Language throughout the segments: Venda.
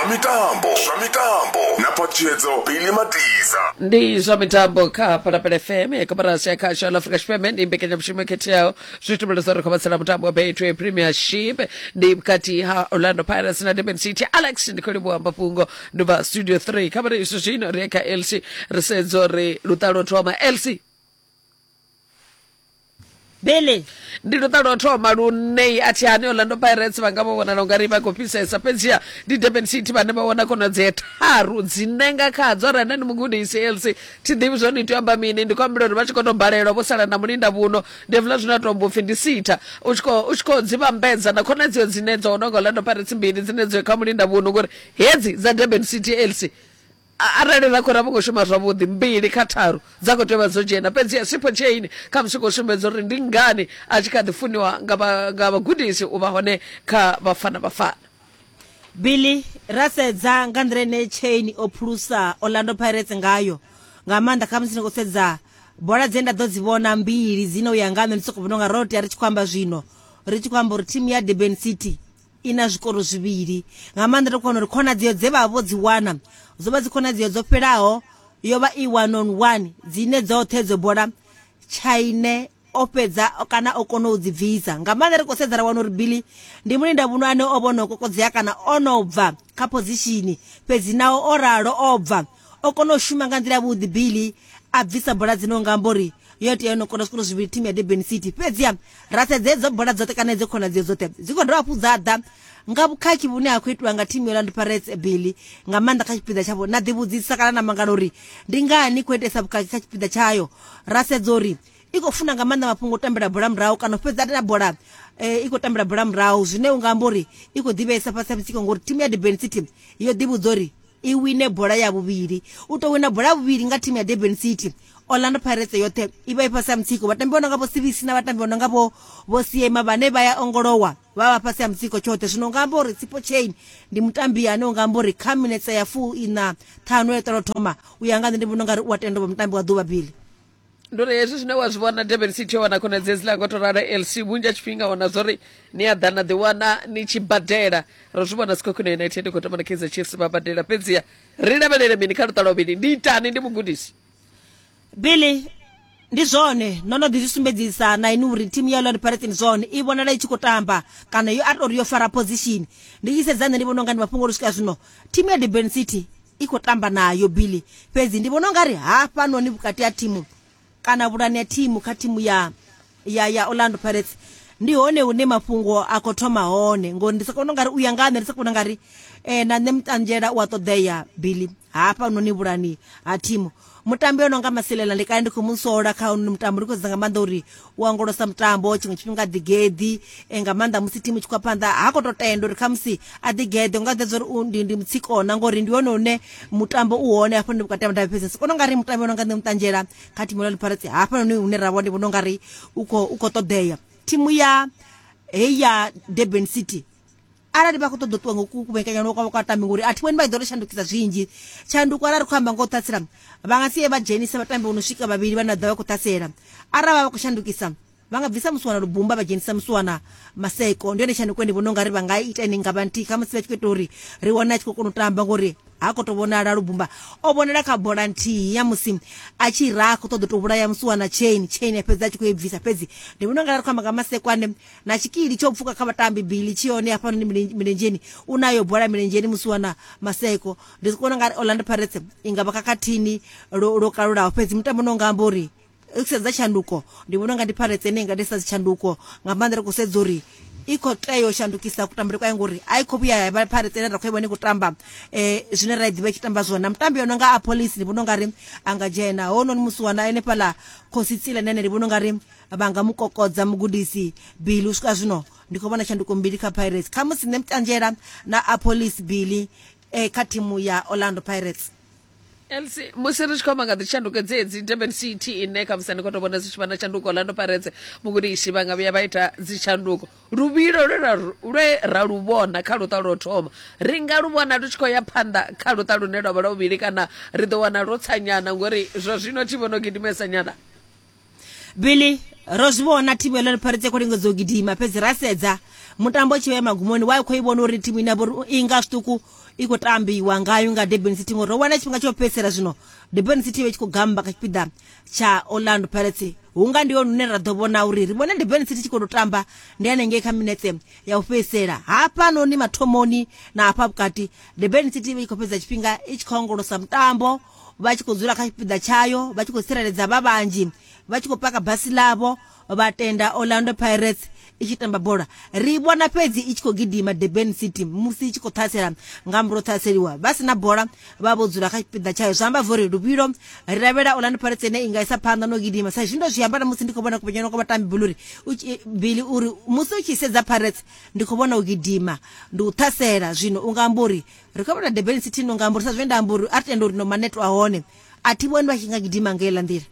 Zwa mitambo, zwa mitambo na phaṱhutshedzo Billy Matisa. Ndi zwa mitambo kha Phalaphala FM ya koporasi ya khasho ya Afrika Tshipembe. Ndi mbekanyamushumo yo khetheaho zwi tumbulisa uri khou vhatsela mutambo wa Betway Premiership ndi vhukati ha Orlando Pirates na Durban City. Alex ndi khou livhuwa mafhungo ndi bva studio 3 kha vhari izwi zwino ri ye kha LC ri sedze uri luṱa lwo thoma LC Billy. Ndi luṱa lwo thoma lune a thi hani Orlando Pirates vha nga vho vhonala ungari vha khou fhisesa, fhedziha ndi Durban City vhane vha wana khonadzeo tharu dzine nga khadzo arali nda ndi mugudisi LC thi ḓivhi zwone ni tea u amba mini. Ndi khou ambela uri vha tshi khou tou balelwa vho sala na mulinda vhuno ndi hezwiḽa zwine a tou amba upfhi ndi sitha u tshi khou u tshi khou dzi vhambedza na khonadzeo dzine dzo wanwa nga Orlando Pirates mbili dzine dzo kha mulinda vhuno ngori hedzi dza Durban City LC arali ra khou ra vho ngo shuma zwavhuḓi mbili kha tharu dza khou tea u vha dzo dzhena. Fhedziha Sipho Chaine kha musi khou sumbedza uri ndi ngani a tshi kha ḓi funiwa nga nga vhagudisi u vha hone kha Bafana Bafana. Billy, ra sedza nga nḓila ine Chaine o phulusa Orlando Pirates ngayo, nga maanḓa kha musi ni khou sedza bola dze nda ḓo dzi vhona mbili dzine u ya nga nṋe ndi sokou vhona unga ro tea ri tshi khou amba zwino ri tshi khou amba uri thimu ya Durban City i na zwikoro zwivhili. Nga maanḓa ri khou wana uri khonadzeo dze vha vho dzi wana dzo vha dzi khonadzeo dzo fhelaho, yo vha i one on one dzine dzoṱhe dzo bola Chaine o fhedza kana o kona u dzi bvisa. Nga maanḓa ri khou sedza ra wana uri Billy ndi mulindavhuno ane o vha o no kokodzea kana o no bva kha phozishini, fhedzi naho o ralo o bva o kona u shuma nga nḓila yavhuḓi. Billy a bvisa bola dzine u nga amba uri yo tea yo no kona zwikoro zwivhili thimu ya Durban City. Fhedziha ra sedza hedzo bola dzoṱhe kana hedzo khonadzeo dzoṱhe dzi khou dovha hafhu dza ḓa nga vhukhakhi vhune ha khou itiwa nga thimu ya Orlando Pirates Billy, nga maanḓa kha tshipiḓa tshavho. Na ḓivhudzisa kana na mangala uri ndi ngani khou itesa vhukhakhi kha tshipiḓa tshayo. Ra sedza uri i khou funa nga maanḓa mafhungo o tambela bola murahu kana u fhedza na bola i khou tambela bola murahu, zwine u nga amba uri i khou ḓivheesa fhasi ha mutsiko ngori thimu ya Durban City yo ḓivhudza uri i wine bola ya vhuvhili. U tou wina bola ya vhuvhili nga thimu ya Durban City, Orlando Pirates yoṱhe i vha i fhasi ha mutsiko. Vhatambi vho no nga vho Sibisi na vhatambi vho no nga vho vho Siema vhane vha ya ongolowa vha vha fhasi ha mutsiko tshoṱhe. Zwino unga amba uri Sipho Chaine ndi mutambi ane unga amba uri kha minetse ya fu ina ṱhanu ya ṱolo thoma, u ya nga nṋe ndi vhona ungari u a tenda u vha mutambi wa ḓuvha Billy. Ndi uri hezwi zwine wa zwi vhona Durban City yo wana khonadzeo hedziḽa ngo to ralo LC vhunzhi ha tshifhinga wana zwori ni a ḓa na ḓiwana ni tshi badela. Ro zwi vhona Sekhukhune United i khou tamba na Kaizer Chiefs vha badela, fhedziha ri lavhelele mini kha luṱa lwa vhuvhili? Ndi itani ndi mugudisi? Billy, Ndi zwone, no no ḓi zwi sumbedzisa na inwi uri thimu ya Orlando Pirates ndi zwone i vhonala i tshi khou tamba kana yo a tou ri yo fara position. Ndi tshi sedza nṋe ndi vhona unga ndi mafhungo uri swika zwino thimu ya Durban City i khou tamba nayo Billy, fhedzi ndi vhona ungari hafhanoni vhukati ha thimu kana vhulani ha thimu kha thimu ya ya ya Orlando Pirates ndi hone hune mafhungo a khou thoma hone, ngori ndi soko vhona ungari u ya nga nṋe ndi soko vhona ungari eh, na nṋe mutanzhela u a ṱoḓea Billy hafhanoni vhulani ha thimu. Mutambi o no nga Masilela ndi kale ndi khou mu sola kha hounoni mutambo, ndi khou sedza nga maanḓa uri u ongolosa mutambo tshiṅwe tshifhinga a ḓigeḓi eh, nga maanḓa musi thimu i tshi khou ya phanḓa ha khou tou tenda uri khamusi a ḓigeḓe, unga ḓedza uri u ndi, ndi mutsikona ngori ndi hone hune mutambo u hone hafho ndi vhukati ha mudavhi. Fhedzi siko nga ri mutambi o no nga nṋe Muṱanzhela kha thimu ya Orlando Pirates hafhanoni hune ra vha ndi vhona ungari u khou u khou ṱoḓea. Thimu ya heyi ya Durban City arali vha khou ṱoḓa u ṱuwa nga kuvhekanyelwa kwavho kwa vhatambi ngori a thi vhoni vha tshi ḓo ri shandukisa zwinzhi. Tshanduko arali ri khou amba nga u ṱhasela vha nga si ye vha dzhenise vhatambi vho no swika vhavhili vhane vha ḓo vha khou ṱhasela. Arali vha vha khou shandukisa vha nga bvisa Muswana Lubumba vha dzhenisa Muswana Maseko, ndi yone tshanduko ndi vhona ungari vha nga ita ine nga vha nthihi khamusi vha tshi khou ita uri ri wane a tshi khou kona u tamba ngori ha khou tou vhonala Lubumba o vhonala kha bola nthihi ya musi a tshi raha khou ṱoḓa u tou vhulaya Muswana Chain, Chain a fhedza a tshi khou i bvisa. Fhedzi ndi vhona ungari ri khou amba nga Maseko ane na tshikili tsho pfuka kha vhatambi Billy tshi hone hafhanoni milenzheni u nayo bola milenzheni Musiwana Maseko. Ndi vhona ungari Orlando Pirates i nga vha khakhathini lwo lwo kalulaho, fhedzi mutambo no nga amba uri ri sedza tshanduko ndi vhona unga ndi Pirates ine i nga ḓisa dzitshanduko nga maanḓa ri khou sedza uri i khou tea u shandukisa kutambele kwayo ngori a i khou vhuya ya vha Pirates ine ra khou i vhona i khou tamba zwine ra i ḓivha i tshi tamba zwone. Na mutambi o no nga Appollis ndi vhona ungari a nga dzhena hounoni Musiwana henefhaḽa Khosi Tsile na ene ndi vhona ungari vha nga mu kokodza mugudisi Billy. U swika zwino ndi khou vhona tshanduko mbili kha Pirates, khamusi nṋe Mtanzhela na Appollis Billy eh, kha thimu ya Orlando Pirates. LC, musi ri tshi khou amba nga dzitshanduko dzedzi Durban City ine khamusi ni khou tou vhona zwi tshi vha na tshanduko, Orlando Pirates mugudisi vha nga vhuya vha ita dzitshanduko. Luvhilo lwe ra lwe ra lu vhona kha luṱa lwo thoma ri nga lu vhona lu tshi khou ya phanḓa kha luṱa lune lwa vha lwa vhuvhili kana ri ḓo wana lwo tsanyana ngori zwa zwino thi vhono gidimesa nyana? Billy, ro zwi vhona thimu ya Orlando Pirates i khou lingedza u gidima, fhedzi ra sedza Mutambo tshi vhe magumoni wa khou i vhona uri thimu ine vhori i nga zwiṱuku i khou tambiwa ngayo nga Durban City ngori ro wana tshifhinga tsho fhedzisela zwino Durban City vhe tshi khou gamba kha tshipiḓa tsha Orlando Pirates hunga ndi hone hune ra ḓo vhona uri ri vhone Durban City tshi khou tou tamba ndi hanengei kha minetse ya u fhedzisela hafhanoni mathomoni na hafha vhukati Durban City i khou fhedza tshifhinga i tshi khou ongolosa mutambo vha tshi khou dzula kha tshipiḓa tshayo vha tshi khou tsireledza vha vhanzhi vha tshi khou paka basi ḽavho vha tenda Orlando Pirates i tshi tamba bola ri vhona fhedzi i tshi khou gidima Durban City musi i tshi khou ṱhasela nga murahu ṱhaseliwa vha si na bola vha vho dzula kha tshipiḓa tshayo zwi amba uri luvhilo ri lavhelela Orlando Pirates ine i nga isa phanḓa no gidima sa izwi ndo zwi amba na musi ndi khou vhona kupenya kwa vhatambi Billy uri Billy uri musi u tshi sedza Pirates ndi khou vhona u gidima ndi u ṱhasela zwino u nga amba uri ri khou vhona Durban City no nga amba uri sa zwe nda amba uri a tenda uri no maneto a hone a thi vhoni vha tshi nga gidima nga heiḽa nḓila.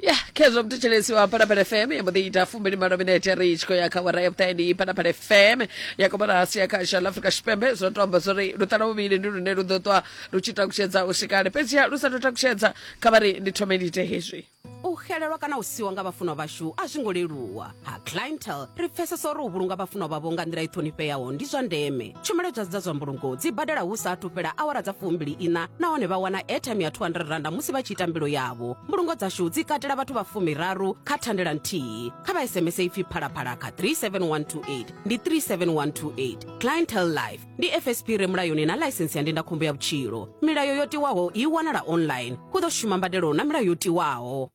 Ya khezwo mthetshelesi wa Phalaphala FM ya mbo ḓi ita 28 minete ri tshi khou ya kha awara ya vhuṱahe ndi Phalaphala FM ya koporasi ya khasha ḽa Afrika Tshipembe zwo to amba zwori luṱa lwa vhuvhili ndi lune lu ḓo ṱwa lu tshi takutshedza u swika fhedziha lu sa tou takutshedza kha vha ri ndi thome ndi ite hezwi. U xelelwa kana u siwa nga vhafunwa vhashu a zwi ngo leluwa. Ha Clientele, ri pfesesa uri u vhulunga vhafunwa vhavho nga nḓila i ṱhonifheaho ndi zwa ndeme. Tshumelo dza dza zwa mbulungo dzi badela hu sa athu fhela awara dza fumbili iṋa nahone vha wana airtime ya R200 musi vha tshi ita mbilo yavho. Mbulungo dzashu dzi katela vhathu vha fumiraru kha thandela nthihi. Kha vha SMS ipfi Phalaphala kha 37128 ndi 37128. Clientele Life ndi FSP re mulayoni na ḽaisensi ya ndindakhombo ya vhutshilo. Milayo yo tiwaho i wanala online. Hu ḓo shuma mbadelo na milayo yo tiwaho.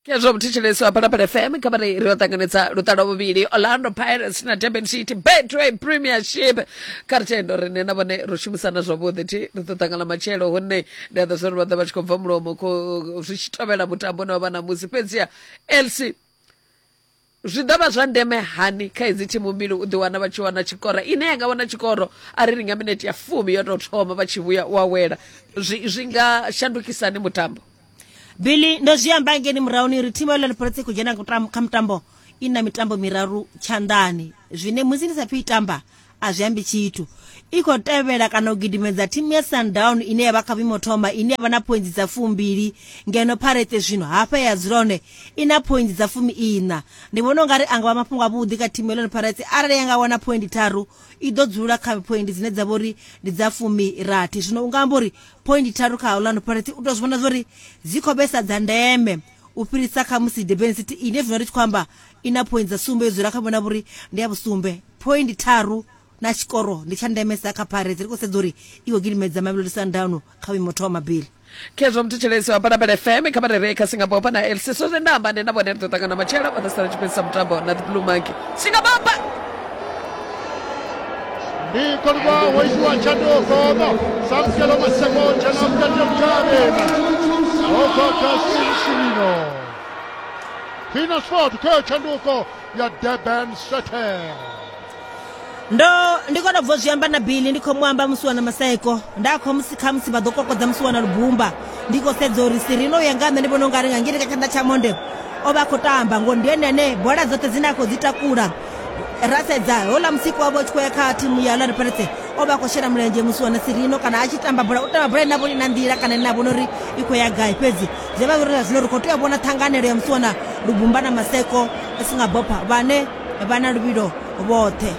Khezwo muthetshelesi wa Phalaphala FM kha vha ri ri yo ṱanganedza luṱa lwa vhuvhili Orlando Pirates na Durban City Betway Premiership kha ri tendo riṋe na vhone ro shumisana zwavhuḓi thi ri ḓo ṱangana matshelo hune ndi a ḓo zwa uri vha ḓo vha tshi khou bva mulomo khou zwi tshi tovhela mutambo une wa vha ṋamusi fhedziha LC Zwi ḓo vha zwa ndeme hani kha idzi thimu mbili u ḓiwana vha tshi wana tshikoro ine ya nga wana tshikoro arali nga minete ya fumi yo tou thoma vha tshi vhuya u awela zwi, zwi nga shandukisani mutambo? Billy, ndo zwi amba ngeni murahuni uri thimu ya Orlando Pirates i khou dzhena kha mutambo i na mitambo miraru tshanḓani zwine musi ndi sa pfi i tamba a zwi ambi tshithu. I khou tevhela kana u gidimedza thimu ya Sundown ine ya vha kha vhuimo thoma ine ya vha na phointsi dza fumbili ngeno Pirates zwino hafha ya dzula hone i na phointsi dza fumi iṋa. Ndi vhona u nga ri a nga vha mafhungo avhuḓi kha thimu ya Orlando Pirates arali ya nga wana phoindi tharu i ḓo dzula kha phoindi dzine dza vha uri ndi dza fumi rathi. Zwino u nga amba uri phoindi tharu kha Orlando Pirates u tou zwi vhona zwa uri dzi khou vhesa dza ndeme u fhirisa kha musi Durban City ine zwino ri tshi khou amba i na phoindi dza sumbe yo dzula kha vhona vhuri ndi ya vhusumbe phoindi tharu na tshikoro ndi tsha ndemesa kha Pirates ri khou sedza uri i khou gidimedza Mamelodi Sundowns kha vhuimo thoma Billy. Khezwo muthetshelesi wa Phalaphala FM kha vha rere kha Singapore na LC so zwe nda amba ndi na vhone ri ḓo ṱangana matshelo vha ḓo sala tshi fhedzisa mutambo na the Blue Monkey Singapore. Ndi khou wo itiwa tshanduko Samkelo Maseko dzhena vhukati ha mudavhi ho bva kha Sinsimino Pina Sport khayo tshanduko ya Durban City. Ndo ndi khou tou bva zwi amba na Billy ndi khou mu amba musiwana Maseko nda khou musi khamusi vha ḓo kokodza musiwana Lubumba ndi khou sedza uri Sirino u ya nga nṋe ndi vhona ungari nga ngei kha tshanḓa tsha monde o vha a khou tamba ngori ndi ene ane bola dzoṱhe dzine a khou dzi takula ra sedza houḽa musiku wavho tshi khou ya kha thimu ya Orlando Pirates o vha a khou shela mulenzhe musiwana Sirino kana a tshi tamba bola u tamba bola ine a vhona ina nḓila kana ine a vhona uri i khou ya gai fhedzi zwi vha uri zwino ri khou tea u vhona ṱhanganelo ya musiwana Lubumba na Maseko Singabopha vhane vha na luvhilo vhoṱhe.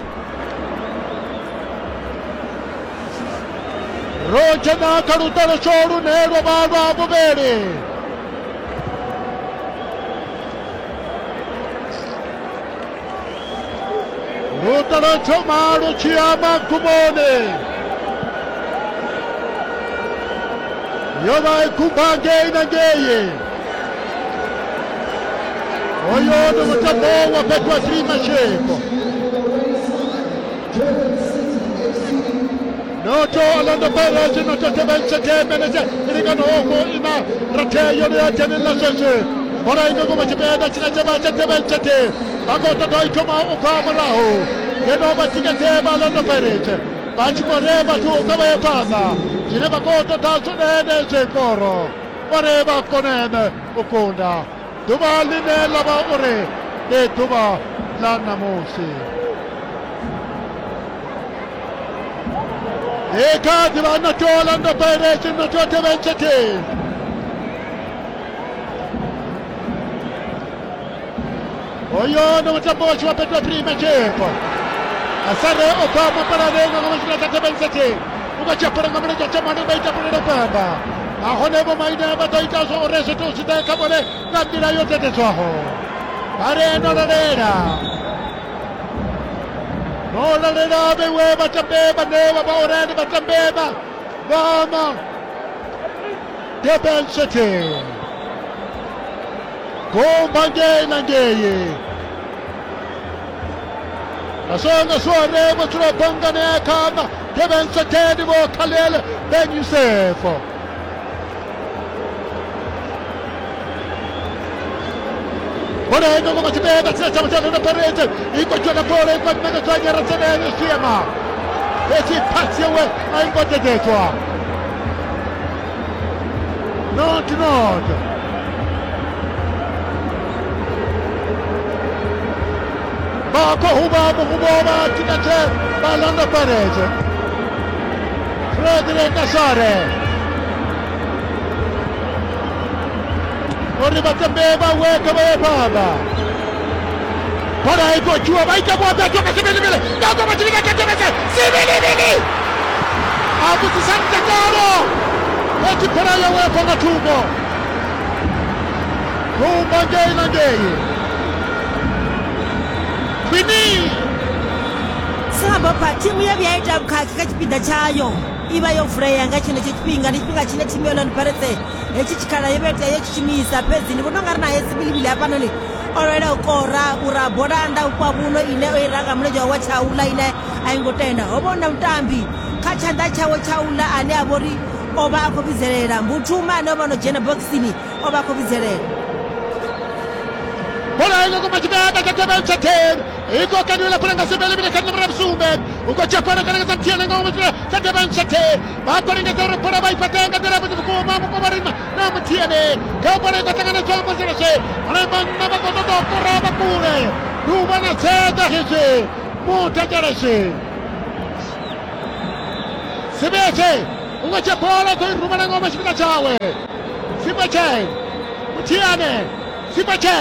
Ro dzhena kha luṱaluswo lune lwa vha lwa vhuvhili. Luṱa lwo thoma lu tshi ya magumoni. Yo vha i khumba ngei na ngei. Hoyo ndi mutambo wa Betway Premiership. Noto Orlando Pirates noto Durban City minete i linganaho ina rathi yone ya dzhenelela zwezwi bola i nga ngomu tshipiḓa tshine tsha vha tsha Durban City vha khou ṱoḓa i thoma u bva murahu ngeno vhatikedzi vha Orlando Pirates vha tshi khou ri vhathu kha vha ye phanḓa zwine vha khou ṱoḓa zwone ndi zwikoro uri vha kone u kunda ḓuvha ḽine ḽa vha uri ndi ḓuvha ḽa ṋamusi i kha ḓivha noto Orlando Pirates noto Durban City hoyo ndi mutambo wa tshi wa Betway Premiership Asare o bva mapalane nga ngomu tshipiḓa tsha Durban City. U khou dzhia bola nga mulenzhe wa tshamane vha ita bola pamba. Nahone vho Maine vha ḓo ita zwa uri zwithu zwi ḓe kha vhone nga nḓila yo dededzwaho. Vha ri no lalela. No lalela vhewe vhatambi vhane vha vha uri ndi vhatambi vha vha Durban City. Gumba ngei na ngei. Nasonga sware vho bangane kha Durban City vho Khalil Ben Youssef. Bola ino ngoma tshipiḓa tshine tsha vha tsha Pirates i khou dzhena bola i khou ṋekedzwa Nyaradzanele Siema. Fhedzi phasi yawe a i ngo dededzwa. Not not. Vha khou huvha muhumbo vha thikathe vha Orlando Pirates. Frederick Asare. Uri vhatambi vhawe kha vha ye phanḓa. Bola i khou dzhiwa vha ita vhuaḓadzo nga Sibilibili nga ngoma tshifhinga tsha tevhedze Sibilibili a vhudzisa mutakalo fhedzi bola yawe ya bva nga thungo thumba ngei na ngei khwini. Singabopha thimu ye vhuya ita vhukhakhi kha tshipiḓa tshayo i vha yo vulea nga tshenetsho tshifhinga ndi tshifhinga tshine thimu ya Orlando Pirates hetshi tshikhala yo vha tea yo tshi shumisa fhedzi ndi vhona ungari naye Sibilibili hafhanoni o lwela u kora ura bola nnḓa vhupo vhuno ine o i ranga mulenzhe wawe wa tshaula ine a i ngo tenda ho vha hu na mutambi kha tshanḓa tshawe tshaula ane a vhori o vha a khou vhidzelela Mbuthuma ane o vha no dzhena bokisini o vha a khou vhidzelela. Bola ino kuma tshipiḓa tsha Durban City i khou kaniwela bola nga Sibilibili kha nomoro ya vhusumbe u khou dzhia bola kana nga muthihi nga ngomu tshipiḓa tsha Durban City vha khou lingedza uri bola vha i fhaṱe nga nḓila yavhuḓi vhukuma vhukuma ri na muthihi kha bola i khou ṱanganedzwa musi lweswe hone vhanna vha khou ṱoḓa u kora vha kule ndi u vha na tseḓa hezwi muthetshelesi Sibetse u khou dzhia bola u khou i rumela ngomu tshipiḓa tshawe Sibetse Muthiane Sibetse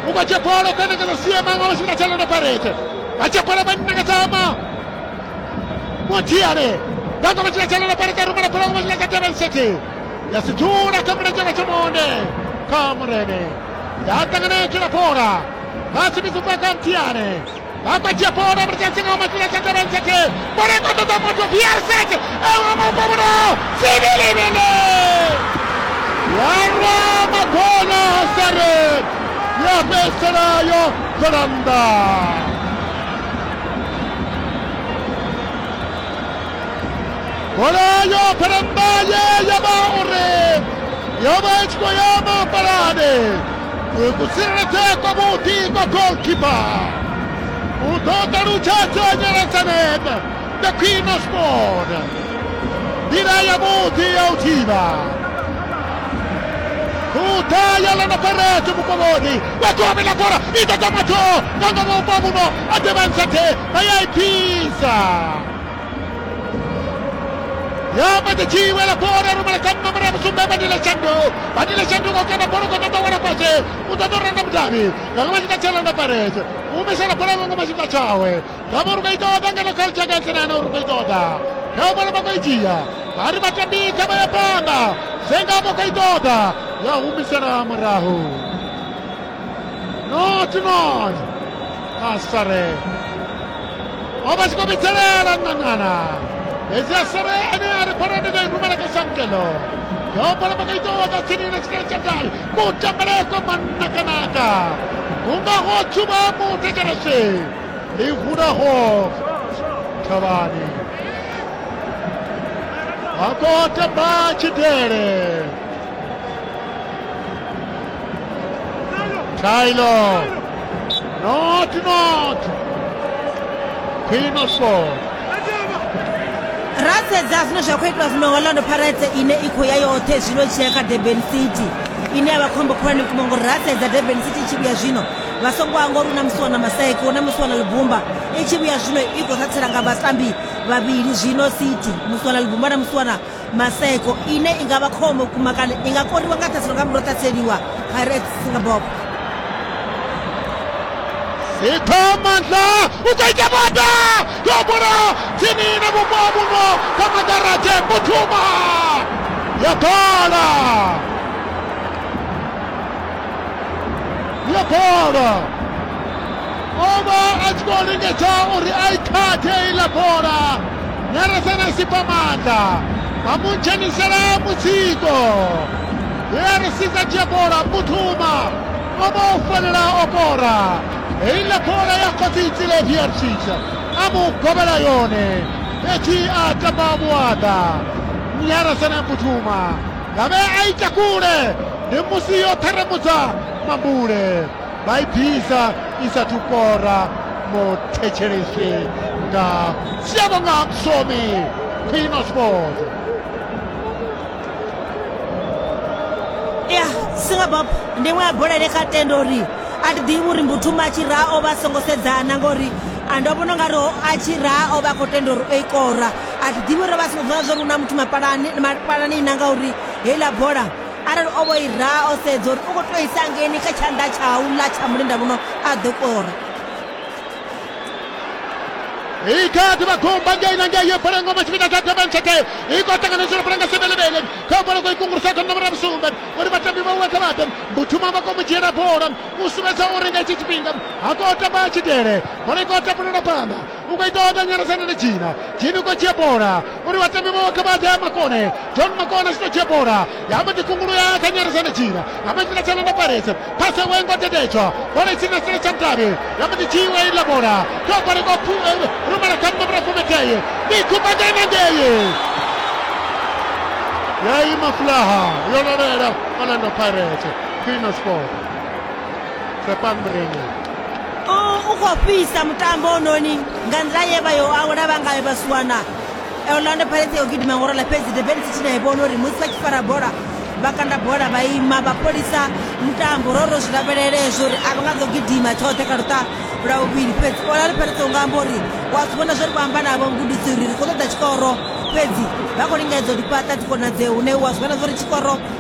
u khou dzhia bola u khou ṋekedza Siema ngomu tshipiḓa tsha Orlando Pirates vha dzhia bola vha ṋekedza Muthiane nga ngomu tshipiḓa tsha Orlando Pirates a rumela bola ngomu tshipiḓa tsha Durban City ya si dzula kha mulenzhe wa tshamonde kha Murene ya ṱanganedzwa bola vha simisa kha Muthiane vha khou dzhia bola mulenzhe nga ngomu tshipiḓa tsha Durban City bola i khou ṱoḓa muthu PR7 ewa mupombulo Sibilibili ya rwa magona Asare ya fhedzisela yo bvela nnḓa. Bola yo bvela nnḓa ye ya vha uri yo vha i tshi khou ya mapalani kutsireledzea kwavhuḓi kwa goalkeeper u ḓo ṱalutshedza Nyaradzaneng the Queen of Sport nḓila yavhuḓi ya u thivha khuḓa ya Orlando Pirates mukovhoni wa gome ḽa bola i ṱoḓa muthu nga ngomu vhupo vhuno a Durban City vha ya i fhisa ya mbaḓi wela bola rumela kha nomoro ya vhusumbe Bandile Shandu Bandile Shandu ngo kanda bola u khou ṱoḓa wela fhasi u ṱoḓa u ranga mudavhi nga ngomu tshipiḓa tsha Orlando Pirates u humisela bola nga ngomu tshipiḓa tshawe nga vho ri khou i ṱoḓa ngeno kha Jacques na uri khou i ṱoḓa kha bola vha khou i dzhia vha ri vhatambi kha vha ya phanḓa Zenga vho khou i ṱoḓa ya humisela murahu not not Asare o vha tshi khou vhidzelela ṋaṋana fhedzi Asare ane a ri bola ndi ḓo i rumela kha Samkelo yo bola vha khou i ṱoḓa tsini na tshikhala tsha gai kutambele kwa manakanaka unga ho tshuba muthetshelesi ḽi hulaho thavhani vha khou tamba tshidele Tyler not not Queen of Sport. Ra sedza zwine zwa khou itwa zwino nga Orlando Pirates ine i khou ya yoṱhe zwino tshi ya kha Durban City ine ya vha khombo khulwane vhukuma ngori ra sedza Durban City i tshi vhuya zwino vha songo hangwa uri hu na Musiwana Maseko hu na Musiwana Lubumba i tshi vhuya zwino i khou satsela nga vhatambi vhavhili zwino City Musiwana Lubumba na Musiwana Maseko ine i nga vha khombo vhukuma kana i nga koriwa nga ṱhaselo nga murahu ṱhaseliwa Pirates Singapore. Ipha maanḓa u khou ita vhada yo bola tsini na vhupo ha vhuno kha magaradzhe Mbuthuma ya bola ya bola o vha a tshi khou lingedza uri a i khathe iḽa bola Nyarasana sipa maanḓa vha mu dzhenisela mutsiko ya ri siza dzhia bola Mbuthuma o vha o fanela o kora heiḽa bola ya Khotsitsile Viercic a mu govhela yone fhedzi a tamba vhuaḓa Nyarasana Mbuthuma ngavhe a ita kule ndi musi yo ṱharamudza mambule vha i bvisa i sathu kora muthetshelesi nga Siyabonga Msomi Queen of Sport. Ya singabob ndi iṅwe ya bola ine kha tenda uri a thi ḓivhi uri Mbuthuma a tshi raha o vha a songo sedzana ngori a ndo vhona ungari a tshi raha o vha a khou tenda uri o i kora a thi ḓivhi uri vha songo vhona zwa uri hu na muthu mapalani mapalani na ngauri heiḽa bola arali o vho i raha o sedza uri u khou tou isa ngeni kha tshanḓa tshau ḽa tsha mulinda vhuno a ḓo kora. Ikati vha ngei na ngei bola ngoma tshifhinga tsha Durban City i khou ṱanganedzela bola nga Sebelebele kha bola khou ikungulusa kha nomoro ya vhusumbe uri vhatambi vha kha vhaḓe Mbuthuma vha khou mu dzhiela bola u sumbedza uri nga itshi tshifhinga ha khou tamba tshidele bola i khou tapulela phanḓa u khou ita oda nyarasana na dzhina dzhini u khou dzhia bola uri vhatambi vha kha vhaḓe Makone John Makone a tshi tou dzhia bola ya mbo ḓi kungulu ya kha nyarasana dzhina ya mbo ḓi tsha na Pirates phase we ngo dededzwa bola i tsini na tshila tsha mudavhi ya mbo ḓi dzhiiwa iḽa bola kha bola i khou rumela kha nomoro fumetee ndi khumba ngei na ngei ya ima fulaha yo lovhela Orlando Pirates Queen of Sport Tsepang Mureni u khou fhisa mutambo ononi nga nḓila ye vha yo awela vha ngayo vhasiwana Orlando Pirates yo gidima ngo ralo fhedzi Durban City na i vhona uri musi vha tshi fara bola vha kanda bola vha ima vha fholisa mutambo ro ro zwi lavhelele hezwo uri a vha nga ḓo gidima tshoṱhe kha luṱa lwa vhuvhili fhedzi Orlando Pirates u nga amba uri wa zwi vhona zwori vho amba navho mugudisi uri ri khou ṱoḓa tshikoro fhedzi vha khou lingedza u ḓi fhaṱa dzikonadzeo hune wa zwi vhona zwori tshikoro.